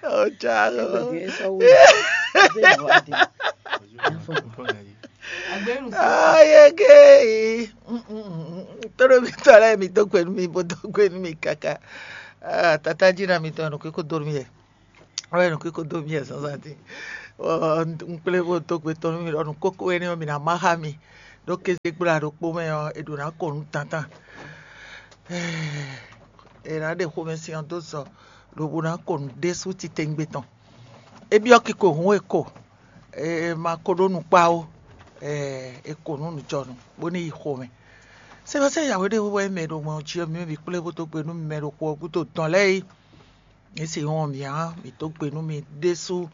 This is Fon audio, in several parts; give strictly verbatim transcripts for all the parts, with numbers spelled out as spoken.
Ɔjá. Agbenu sɔ. Ayege. Tɔɖo mi tɔ lɛ mi dó gbe nú mi bó dó gbe nú mi káká. Ah, tata jí na mi tɔn nɔ kí kó dó nú mi yɛ. Wɛ nɔ kí kó dó mi yɛ zǎnzǎn dín. Un kplé bó dó gbe tɔn nú mi ɖɔ nú kókó énɛ́ ɔ́ mi ná má xá mi. Ɖó kéze gbla ɖokpó mɛ ɔ́, è ɖǒ ná kɔ nǔ tántán. È nǎ ɖe xomɛsin ɔ́ dó zɔ lobo ná kɔ nǔ ɖésú titewungbe tɔn. É byɔ́ kiko hǔn e ko, è ma ko ɖó nukpá ó, è ko nǔ nǔjɔnú bó ní yi xomɛ. Sɛ́bɛ́sɛ́ yǎwe ɖé wɛ mɛ ɖo mɔ jí ɔ́, mi mɛ bǐ kplé bó dó gbe nú mi mɛ ɖo xo ɔ́ gúdo dɔn lɛ́ɛ é. Mǐ sixú wɔn mǐ ǎ, mǐ dó gbe nú mi ɖésú.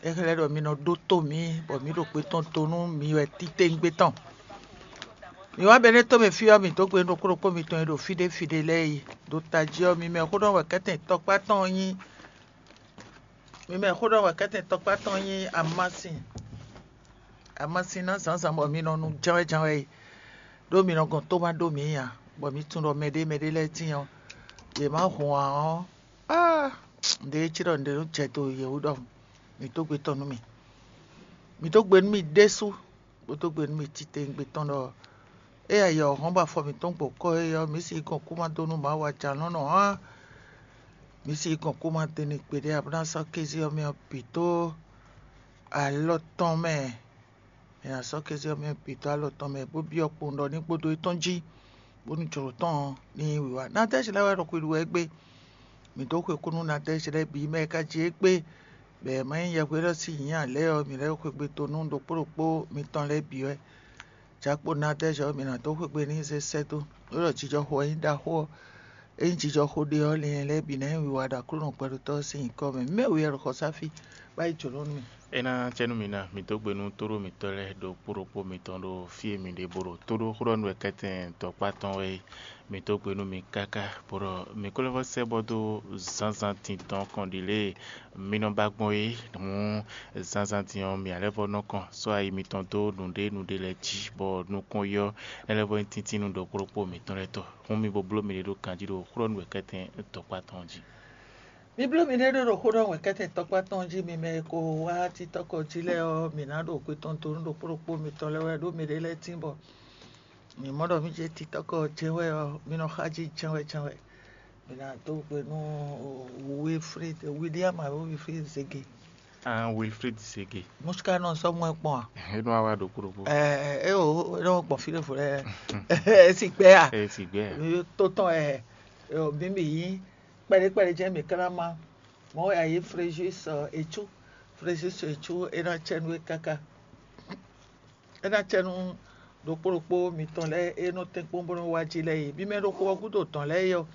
É xlɛ́ ɖɔ mi nɔ ɖótó mǐ, bɔ mǐ ɖo kpé tɔn to nú mi wɛ titewungbe tɔn. Mǐ wá Bɛnɛ́ tomɛ fí ɔ́, mǐ dó gbe nú ɖokpó ɖokpó mitɔn e ɖo fí ɖé fí ɖé lɛ́ɛ yi. Ɖo tají ɔ́, mi mɛ xó ɖɔ wɛ kɛ́tɛn tɔkpá tɔn nyí. Mi mɛ xó ɖɔ wɛ kɛ́tɛn tɔkpá tɔn nyí amasin. Amasin ná zǎnzǎn bɔ mi nɔ nu jɛ́nwɛ́ jɛ́nwɛ́ yi. Ɖó mi nɔ gɔn tó ma ɖó mǐ ǎ, bɔ mi tunwun ɖɔ mɛɖé mɛɖé lɛ́ɛ tíin ɔ́, yě má hun ǎ ɔ́, áa! Nǔɖé cí ɖɔ nǔɖé nɔ jɛ do yě wú ɖɔhun. Mǐ dó gbe tɔn nú mì. Mǐ dó gbe nú mì ɖésú, bó dó gbe nú mì titewungbe tɔn ɖɔ é ayɔ hɔn bɔ afɔ mǐtɔn gbɔ kɔ é ɔ́, mǐ sixú gɔn kú ma dó nú Mawu ajalɔ̌nlɔn ǎ. Mǐ sixú gɔn kú ma dó n'i gbeɖé, a bó ná sɔ́ kéze ɔ́ mɛ ɔ́ bǐ dó alɔ tɔn mɛ. È nǎ sɔ́ kéze ɔ́ mɛ bǐ dó alɔ tɔn mɛ, bó byɔ́ kpowun ɖɔ ní gbódó étɔn jí, bónú jlǒ tɔn ɔ́ ní nyí wǐwá. Nadɛ́zi lɛ́ɛ wɛ ɖo xwixwi wɛ égbé. Mǐ dó xwe kú nú Nadɛ́zi lɛ́ɛ bǐ mɛ e ka jí égbé, bɔ è ma nyí yɛhweɖɔ sín nyǐ ǎ lɛ́ɛ ɔ́, mǐ lɛ́ xwegbe dó nú ɖokpó ɖokpó mitɔn lɛ́ɛ bǐ wɛ. Jakpo Nadɛ́zi ɔ́, mǐ ná dó xwegbe n'i zé sɛ́ dó. Nú ɖɔ jijɔxo ɔ́ nyí ɖaxó ɔ́, ényí jijɔxo ɖe ɔ́, lin lɛ́ɛ bǐ ná nyí wiwa ɖo Aklúnɔ gbɛɖotɔ́ ɔ́ sín nyǐkɔ mɛ. Mǐ mɛ wú yɛ ɖo xɔsáfí, bá yi jǒnɔ nú mì. É ná cɛ nú mi ná, mi dó gbe nú tóɖó mǐtɔn lɛ́ɛ ɖokpó ɖokpó mitɔn ɖo fí e mi ɖe bó ɖo tóɖó xó ɖɔ nú wɛ kɛ́tɛn tɔkpá tɔn wɛ é. Mi dó gbe nú mi káká, bó ɖɔ mi ko lɛ́ vɔ́ sɛ́ bɔ dó zǎnzǎn din tɔn kɔn ɖi lě e mi nɔ ba gbɔn é. Hǔn zǎnzǎn din ɔ́, mi ǎ lɛ́ vɔ́ nɔ kɔn sɔ́ ayi mitɔn dó nǔɖé nǔɖé lɛ́ɛ jí, bɔ nukɔn yi ɔ́, é lɛ́ vɔ́ nyí tíntín nú ɖokpó ɖokpó mitɔn lɛ́ɛ tɔn. Hǔn mi bo bló miɖée ɖó ganjí ɖo xó ɖɔ nú wɛ kɛ́tɛn tɔkpá tɔn jí. Mi bló miɖée ɖó ɖo xó ɖɔ wɛ kɛ́tɛn tɔkpá tɔn jí, mi mɛ e ko wá títɔ́kɔ jí lɛ́ɛ ɔ́, mǐ ná ɖo xwe tɔn dó nú ɖokpó ɖokpó mitɔn lɛ́ɛ wɛ, ɖó miɖée lɛ́ɛ tín bɔ mǐ mɔ ɖɔ mì jɛ títɔ́kɔ jɛ́n wɛ ɔ́, mì nɔ xá jí jɛ́n wɛ jɛ́n wɛ. Mǐ ná dó gbe nú Wilfrid, William alo Wilfrid Zege. Ah, Wilfrid Zege. Mɔ̌ ká nɔ sɔ́ mɔ ɛ kpɔ́n a? É nɔ wá wá ɖokpó ɖokpó. Ɛ ɛ o, é nɔ gbɔn fí ɖěvo lɛ́ɛ. É si gbɛ a? É si gbɛ a? Tó tɔn ɛ, ɛ o, mǐ mǐ yí kpɛɖé kpɛɖé jɛ́n mǐ ká ná má. Mɔ̌ wɛ a yí Fréjus Ecú. Fréjus Ecú é ná cɛ nú é káká. É ná cɛ nú ɖokpó ɖokpó mitɔn lɛ́ɛ e nɔ tɛ́nkpɔ́n bó nɔ́ wá jí lɛ́ɛ é. Mi mɛ ɖo xo ɔ́ gúdo dɔ̌n lɛ́ɛ é ɔ́,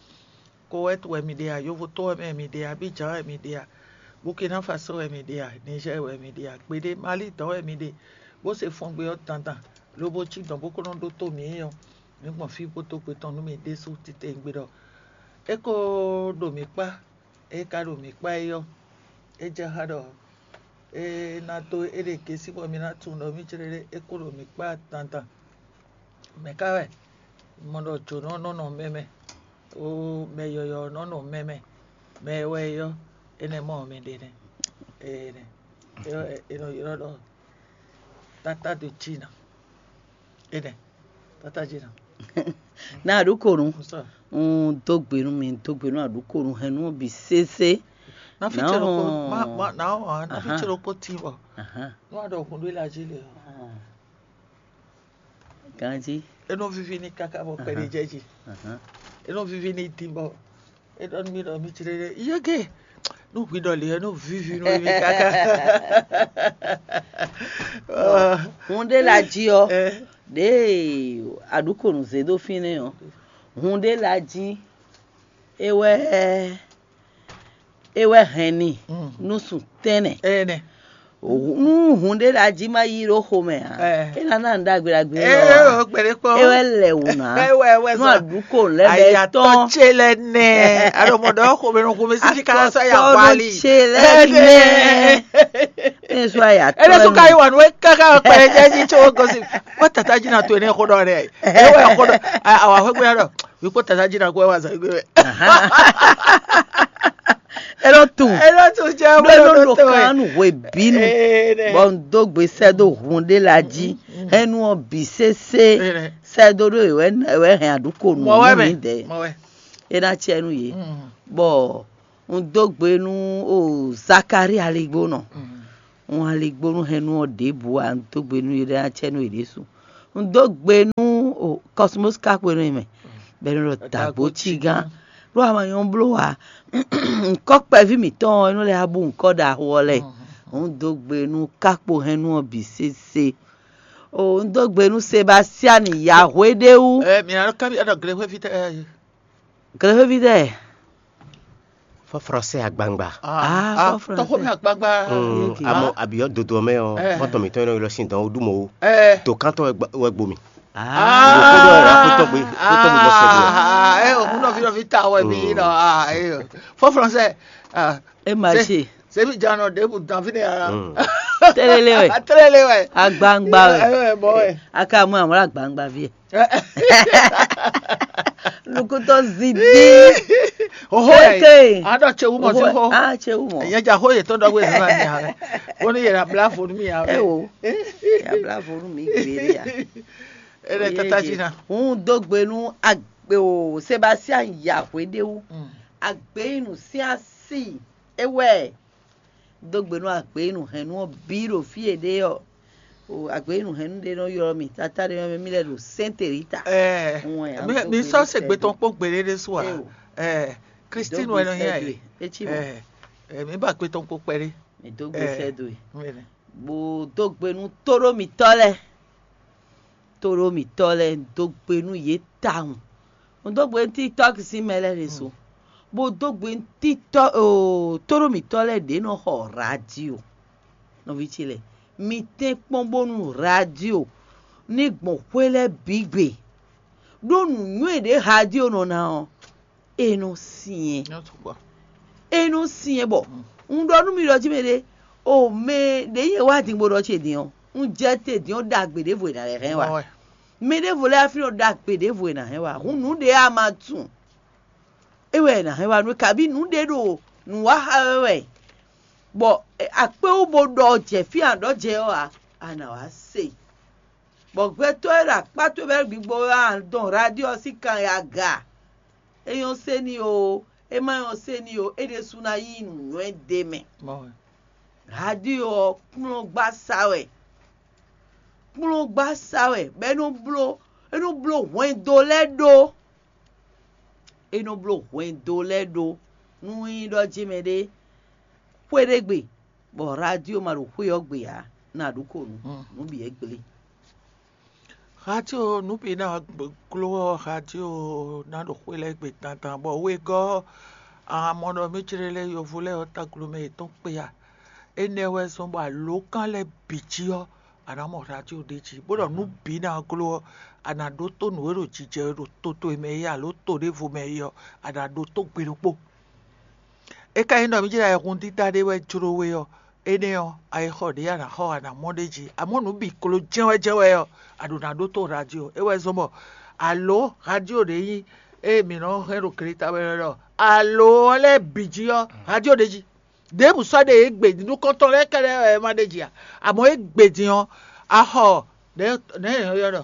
Kowɛ́t wɛ mi ɖe a, Yovóto wɛ mɛ mi ɖe a, Abidjan wɛ mi ɖe a, Burkina Faso wɛ mi ɖe a, Nizɛ́ɛ wɛ mi ɖe a, gbeɖé Mali dɔ̌n wɛ mi ɖe, bó se fɔngbe ɔ́ dandan, lobo cí dɔ̌n bó ko nɔ ɖótó mǐ é ɔ́, mǐ gbɔn fí bó dó gbe tɔn nú mi ɖésú titewungbe ɖɔ é ko ɖo mǐ kpá. É ka ɖo mǐ kpá é ɔ́, é jɛ xá ɖɔ é ná dó éɖée gěsí bɔ mi ná tunwun ɖɔ mì céɖéɖé é kó ɖo mǐ kpá dandan. Mɛ̌ ka wɛ? Mɔ ɖɔ jǒnɔ nɔ nɔ mɛ mɛ, ó mɛ yɔyɔ̌ nɔ nɔ mɛ mɛ, mɛ e wɛ é ɔ́, énɛ́ mɔ mɛ ɖe nɛ́. Énɛ́ é nɔ ylɔ́ ɖɔ tata do jí ná. Énɛ́ tata jí ná. Na aɖukonu. Un dó gbe nú mi, un dó gbe nú aɖukonu hɛn nú bǐ sésé. Na fi tse ɖokpó, ma ma na ɔ́ na fi tse ɖokpó tín bɔ. Nú a ɖɔ hun ɖó la jí le ɔ́. Ganjí. E nɔ vivi ní káká bɔ kpɛɖé jɛ jí. E nɔ vivi ní dín bɔ e ɖɔ nú mi ɖɔ mi cí ɖe yege. Nú hwi ɖɔ lě ɔ́ nɔ vivi nú mi káká. Hun ɖé la jí ɔ́, ɖěe aɖukonu zé ɖó fínɛ́ ɔ́, hun ɖé la jí é wɛ é wɛ hɛn ni nú sun tɛ́nnɛ. Nú hun ɖé la jí ma yí ɖó xomɛ ǎ, é ná ná nǔ ɖagbe ɖagbe ɔ́ ǎ. É wɛ lɛ wǔ ná. Nú aɖǔko lɛ́ɛ bɛ tɔn ce lɛ nɛ. Aɖo mɔ ɖɔ xomɛ nɔ xomɛ sí ká sɔ ya wali. Ce lɛ nɛ. Ene sɔ ya tɔn. Ene sɔ ka yi wanu káká kpɛlɛ jɛ ji tso gosi. Ko tata ji na to ene xo ɖɔ ɖɛ. É wɛ xo ɖɔ. Awa xo gbɛ ɖɔ. Wi ko tata ji na ko wa zan gbɛ. É nɔ tunwun. É nɔ tunwun jɛ ɖó é nɔ ɖo kan nú hwebǐnu. Bɔ un dó gbe sɛ́ dó hun ɖé la jí. Hɛn nú ɔ́ bǐ sésé. Sɛ́ dó ɖó è wɛ è wɛ hɛn aɖǔko nú mì dɛ̌. É ná cɛ nú yě. Bɔ un dó gbe nú o Zakalíi aligbónɔ. Un aligbónú hɛn nú ɔ́ ɖěbǔ ǎ, un dó gbe nú yě ɖé ná cɛ nú yě ɖésú. Un dó gbe nú o Kɔsmos ka xwe nú mɛ, bɔ é nɔ ɖɔ dǎgbó cí gán. Ɖó ama nyɔ́ bló ǎ. Ŋkɔ́ kpɛví mǐtɔn ɔ́, é nɔ lɛ́ wá bú ŋkɔ́ ɖaxó ɔ́ lɛ́ɛ. Un dó gbe nú kákpo hɛn nú ɔ́ bǐ sésé. O un dó gbe nú Sebastiani Yahweh ɖé wú. Ɛ mi nɔ ká mi ɖɔ glexwévi tɛ. Glexwévi tɛ. Fɔ français agbangba. Ah, fɔ français. Tɔxɔ mi agbangba. Amɔ abiyɔ dodo mɛ ɔ, mɔtɔ mitɔn yɛn nɔ ylɔ sin dɔn o ɖu mɔ o. To kantɔ wɛ gbo mi. Ah, kódó wɛ la kótó gbe kótó gbe bɔ sɛ gbe. Ah, eh, o kúndɔ fi dɔ fi ta wɛ mi nɔ. Ah, eh, fɔ français. Ah, e ma se. Sebi jan nɔ ɖebu dan fi ne ara. Télélé wɛ. Télélé wɛ. Agbangba wɛ. Eh, bɔ wɛ. Aka mɔ àwọn agbangba fi. Nukutɔ zibi. Oho eke. Adɔ tsewu mɔ ti ho. Ah, tsewu mɔ. Yẹn ja ho yetɔ dɔ gbe zan ni ha. Ko ni yẹra bla fo mi ha. Ewo. Ya bla fo mi gbere ya. Ele tata ji na. Un dó gbe nú agbe o Sebastian Yahweh ɖe wú. Agbe yi nú sí asi. Ewɛ. Dó gbe nú agbeyínúhɛnnú ɔ́ bǐ ɖo fí e ɖe ɔ́. Agbeyínúhɛnnú ɖé nɔ ylɔ́ mì, tatá ɖé nɔ mì lɛ́ ɖo Sɛ́nte Rita. Mi sɔ́ se gbe tɔn kpɔ́n gbeɖé ɖésú ǎ. Christine wɛ nɔ nyí ɛ. Etí mɔ. Mi ba gbe tɔn kpɔ́n kpɛɖé. Mi dó gbe sɛ́ dó e. Bó dó gbe nú tóɖó mǐtɔn lɛ́ɛ. Tóɖó mǐtɔn lɛ́ɛ, un dó gbe nú yě tawun. Un dó gbe nú TikTok sín mɛ lɛ́ɛ ɖésú, bó dó gbe nú TikTok oo, tóɖó mǐtɔn lɛ́ɛ ɖě nɔ xɔ radio. Nɔví ce lɛ́ɛ, mi tɛ́nkpɔ́n bónú radio ní gbɔn xwé lɛ́ɛ bǐ gbe, ɖó nǔnywɛ́ ɖě radio nɔ ná ɔ́, é nɔ syɛ́n. É nɔ syɛ́n bɔ un ɖɔ nú mi ɖɔ jí mɛ ɖé, o mɛ ɖě nyɛ wá din bó ɖɔ ce din ɔ́, un jɛ te din ɔ́ ɖagbe ɖěvo e nǎ lɛ́ hɛn wá. Mɛ ɖěvo lɛ́ɛ afin ɖɔ ɖagbe ɖěvo e nǎ hɛn wá. Hun nǔ ɖě a ma tunwun, é wɛ è nǎ hɛn wá nú, kabí nǔ ɖě ɖo nǔ wa xa wɛ wɛ, bɔ akpé wú bó ɖɔ jɛ fí a ɖɔ jɛ ɔ́ ǎ, a nǎ wá se. Bɔ gbɛtɔ́ e ɖo akpá towe bɛ́ gbigbo ɔ́ a dɔn radio ɔ́ sín kan e aga. É nyɔ́ sé n'i oo, é ma nyɔ́ sé n'i oo, é ɖésú ná yí nǔnywɛ́ d'é mɛ. Radio ɔ́ kplɔ́ngbasá wɛ, kplɔ́ngbasá wɛ, bɔ é nɔ bló é nɔ bló hwɛndo lɛ́ɛ ɖó. É nɔ bló hwɛndo lɛ́ɛ ɖó. Nú nyí ɖɔ jí mɛ ɖé xwé ɖé gbe, bɔ radio ma ɖo xwé ɔ́ gbe ǎ, ná ɖu ko nǔ, nǔ bǐ é gblé. Radio nǔ bǐ ná gló ɔ́, radio ná ɖo xwé lɛ́ɛ gbe dandan, bɔ wegɔ́ ɔ́, a mɔ ɖɔ mí jlé lɛ́ yovó lɛ́ɛ ɔ́ táglo mɛ yětɔn kpé a? Énɛ́ wɛ zɔ́n bɔ alǒkan lɛ́ɛ bǐ jí ɔ́, a nǎ mɔ radio ɖ'é jí, bó ɖɔ nǔ bǐ ná gló ɔ́, a nǎ ɖótó nǔ e ɖo jijɛ wɛ ɖo to towe mɛ é alo to ɖěvo mɛ é ɔ́, a nǎ ɖótó gbe ɖokpó. É ka nyí ɖɔ mí jlá ayihún dídá ɖé wɛ jló we ɔ́, énɛ́ ɔ́, ayixɔ ɖě a nǎ xɔ a nǎ mɔ ɖ'é jí. Amɔ̌ nǔ bǐ kló jɛ́nwɛ́jɛ́nwɛ ɔ́, a ɖǒ ná ɖótó radio. É wɛ zɔ́n bɔ alǒ radio ɖě nyí ée mǐ nɔ hɛn ɖo gleta wɛ ɖɔ alǒ ɔ́ lɛ́ɛ bǐ jí ɔ́, radio ɖ'é jí. Ɖěbǔ sɔ́ ɖe é gbe din, nukɔntɔn lɛ́ɛ kɛ́ɖɛ́ wɛ é ma ɖ'é jí ǎ. Amɔ̌ é gbe din ɔ́, a xɔ nɛ̌ nɛ̌ è nɔ ylɔ́ ɖɔ?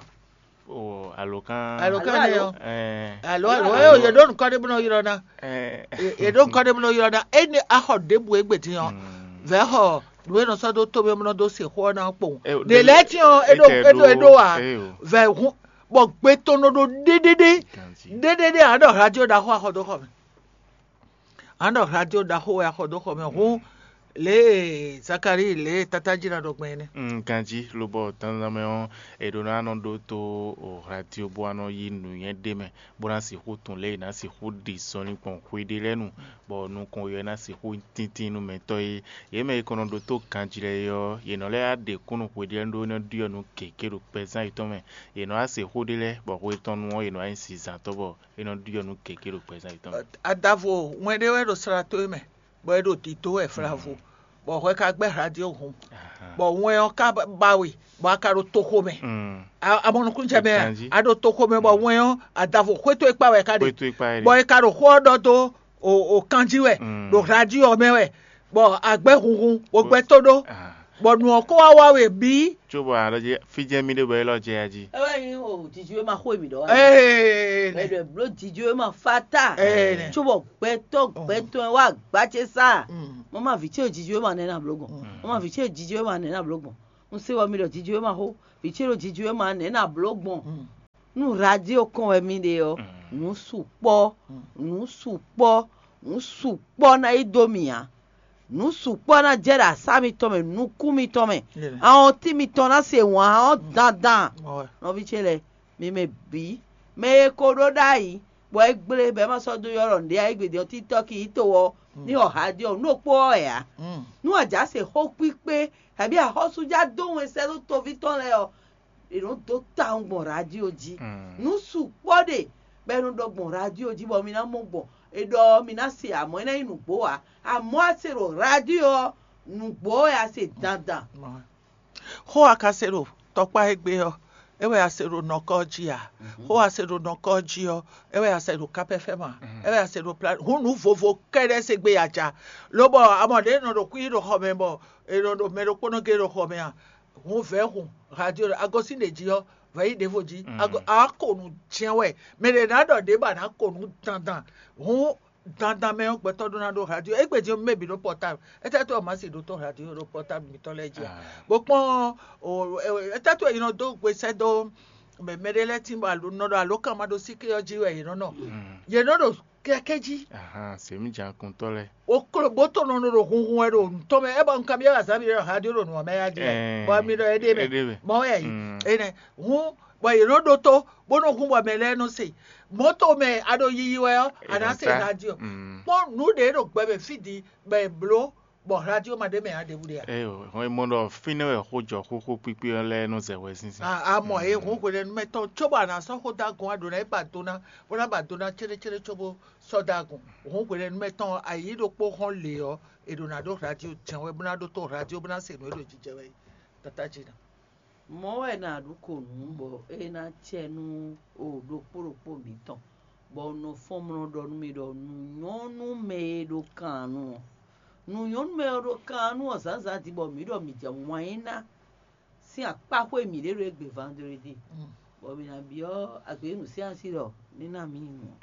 O alǒkan. Alǒkan nɛ́ ɔ́. Ɛɛ, Alo alo, alo. Alo, yě ɖó nukɔn ɖé bó nɔ ylɔ́ ná. Ɛɛ, Yě ɖó nukɔn ɖé bó nɔ ylɔ́ ná. Énɛ́ a xɔ ɖěbǔ égbé din ɔ́, vɛ̌ xɔ nǔ e nɔ sɔ́ dó tómɛ bó nɔ dó se xó ɔ́ ná kpowun. Ɖě lɛ́ɛ tín ɔ́, é ɖó é ɖó é ɖó ǎ. Vɛ̌ hun bɔ gbe tɔn nɔ ɖo ɖéɖéɖé. Ɖéɖéɖé ǎ ɖɔ radio ɖaxó axɔ dó xɔ mɛ. Ǎ ɖɔ radio ɖaxó wɛ axɔ dó xɔ mɛ. Hǔn lě e Zakalíi lě e tátájí ná ɖɔ gbɔn é nɛ́. Ganjí lobɔ dandan mɛ ɔ́, è ɖó ná nɔ ɖótó radio bó wá nɔ yí nǔnywɛ́ ɖé mɛ, bó ná sixú tunwun lě e è nǎ sixú ɖi zɔnlin gbɔn xwe ɖé lɛ́ɛ nu, bɔ nukɔn yɔ ɔ́ ná sixú nyí tíntín nú mɛ tɔ́ é. Yě mɛ e kɔn nɔ ɖótó ganjí lɛ́ɛ é ɔ́, yě nɔ lɛ́ wá ɖe kúnnu xwe ɖé lɛ́ɛ ɖó é nɔ ɖyɔ́ nǔ gěgé ɖo kpɛzán yětɔn mɛ. Yě nɔ wá se xó ɖé lɛ́ɛ, bɔ xwe tɔn nu ɔ́, yě nɔ wá nyí zizantɔ́ bɔ é nɔ ɖyɔ́ nǔ gěgé ɖo kpɛzán yětɔn mɛ. Adavo wɛn ɖé wɛ ɖo sla towe mɛ, bɔ é ɖo dǐdó wɛ flavo, bɔ hwɛ ka gbɛ́ radio hun, bɔ wɛn ɔ́ ka ba we, bɔ a ka ɖo toxo mɛ. A mɔ nukúnnú jɛ mɛ a? A ɖo toxo mɛ, bɔ wɛn ɔ́ adavo xwé towe kpa wɛ ka ɖe, bɔ è ka ɖo xó ɔ́ ɖɔ dó o kanjí wɛ ɖo radio mɛ wɛ, bɔ agbɛ́ hunhun o gbɛ́ tó ɖó, bɔ nǔ ɔ́ kó wá wá we bǐ. Cóbɔ a ɖɔ jí fí jɛ́n mì ɖe bɔ élɔ́ jɛ ya jí. É wɛ nyí o jiji wé ma xó èmì ɖɔ wá. Ee, Mɛ ɖɔ bló jiji wé ma fa ta. Ee, nɛ. Cóbɔ gbɛtɔ́ gbɛtɔ́ wá gbá ce sá. Mm. Mɔ ma vǐ ce jiji wé ma nɛ na bló gbɔn. Mm. Mɔ ma vǐ ce jiji wé ma nɛ na bló gbɔn. Un se wɔ mi ɖɔ jiji wé ma xó. Vǐ ce ɖo jiji wé ma nɛ na bló gbɔn. Mm. Nú radio kɔn wɛ mi ɖe ɔ́, nǔ sukpɔ́, nǔ sukpɔ́, nǔ sukpɔ́ ná yi dó mì ǎ. Nǔ sukpɔ́ ná jɛ ɖo asá mitɔn mɛ, nukún mitɔn mɛ. Awɔntín mitɔn ná se wǎn ɔ́ dandan. Nɔví ce lɛ́ɛ, mi mɛ bǐ, mɛ e ko ɖó ɖ'ayǐ, bɔ é gblé, bɔ é ma sɔ́ dó ylɔ́ ɖɔ nǔɖé ayǐ gbe din ɔ́, títɔ́ ki yi to ɔ́, ní xɔ radio nú ɖokpó ɔ́ wɛ ǎ. Nú a jǎ se xó kpíkpé, kabí axɔ́sújá dó wɛn sɛ́ dó toví tɔn lɛ́ɛ ɔ́, è nɔ dó tawun gbɔn radio jí. Nǔ sukpɔ́ ɖe bɔ è nɔ ɖɔ gbɔn radio jí bɔ mi ná mɔ gbɔn. È ɖɔ ɔ́, mi ná se amɔ̌ é ná nyí nǔgbó ǎ. Amɔ̌ a se ɖo radio ɔ́, nǔgbó wɛ a se dandan. Xó a ka se ɖo tɔkpá égbé ɔ́, é wɛ a se ɖo nɔkɔ jí a? Xó a se ɖo nɔkɔ jí ɔ́, é wɛ a se ɖo kapɛfɛ́ma, é wɛ a se ɖo pla hǔn nǔ vovo kɛ́ɖɛ́ se gbé a ja. Lobɔ amɔ ɖě nɔ ɖo kúyí ɖo xɔ mɛ bɔ è nɔ ɖo mɛ ɖokpónɔ gé ɖo xɔ mɛ a? Hǔn vɛ̌ hun radio a gosín ɖě jí ɔ́, vɛ̌ yi ɖěvo jí. A ko nǔ jɛ́n wɛ. Mɛ ɖě ná ɖɔ ɖě ba ná ko nǔ dandan. Hǔn dandan mɛ ɔ́, gbɛtɔ́ ɖó ná ɖó radio. Égbé din ɔ́, mɛ bǐ ɖó pɔtábl. Étɛ́ tó ɔ́, má se ɖó tó radio ɖó pɔtábl mitɔn lɛ́ɛ jí a? Bó kpɔ́n étɛ́ tó e nɔ dó gbe sɛ́ dó mɛ mɛ ɖé lɛ́ɛ tín bɔ nɔ ɖo alǒkan ma ɖó síké ɔ́ jí wɛ yě nɔ nɔ. Yě nɔ ɖo kɛkɛ́ jí. Sèmí jǎnkuntɔ́ lɛ́ɛ. O klo bó tó nɔ ɖo hunhun wɛ ɖo nǔtɔn mɛ, é bɔ un kanbyɔ́ azǎn mi ɖɔ radio ɖo nǔ ɔ́ mɛ ya jí wɛ. Bɔ mi ɖɔ éɖée mɛ. Mɔ wɛ yí. Énɛ́. Hǔn bɔ yě nɔ ɖótó, bó nɔ hun bɔ mɛ lɛ́ɛ nɔ se. Mɔ̌to mɛ a ɖo yiyi wɛ ɔ́, a nǎ se radio. Kpɔ́n nǔ ɖě ɖo gbɛ mɛ fí din bɔ è bló, bɔ radio ma ɖ'é mɛ ǎ ɖěbǔ ɖe ǎ. Hɔn e mɔ ɖɔ fínɛ́ wɛ xó jɔ xóxó kpíkpí ɔ́ lɛ́ɛ nɔ zɛ hwɛ sínsɛ́n. A mɔ e hǔn hwelɛ́nu mɛtɔn cóbɔ a nǎ sɔ́ xó dó agun a ɖǒ ná é ba do ná, bó ná ba do ná céɖécéɖé cóbó sɔ́ dó agun. Hǔn hwelɛ́nu mɛtɔn ayǐ ɖokpó hɔn lě ɔ́, è ɖǒ ná ɖó radio jɛ́n wɛ bó ná ɖótó radio bó ná se nǔ e ɖo jijɛ wɛ é. Tata jí ná. Mɔ̌ wɛ è nǎ ɖu ko nǔ bɔ é ná cɛ nú o ɖokpó ɖokpó mǐtɔn, bɔ un nɔ fɔ́n mlɔ ɖɔ nú mi ɖɔ nǔ nyɔ́ nú mɛ e ɖo kan nu ɔ́. Nǔ nyɔ́ nú mɛ e ɖo kan nu ɔ́ zǎnzǎn din bɔ mǐ ɖɔ mǐ jɛ wǎn yí ná sín akpáxwé mǐɖée ɖo égbé vandredi, bɔ mǐ ná byɔ́ agběnǔ sín asi ɖɔ ní ná mǐ nyi nǔ ɔ́.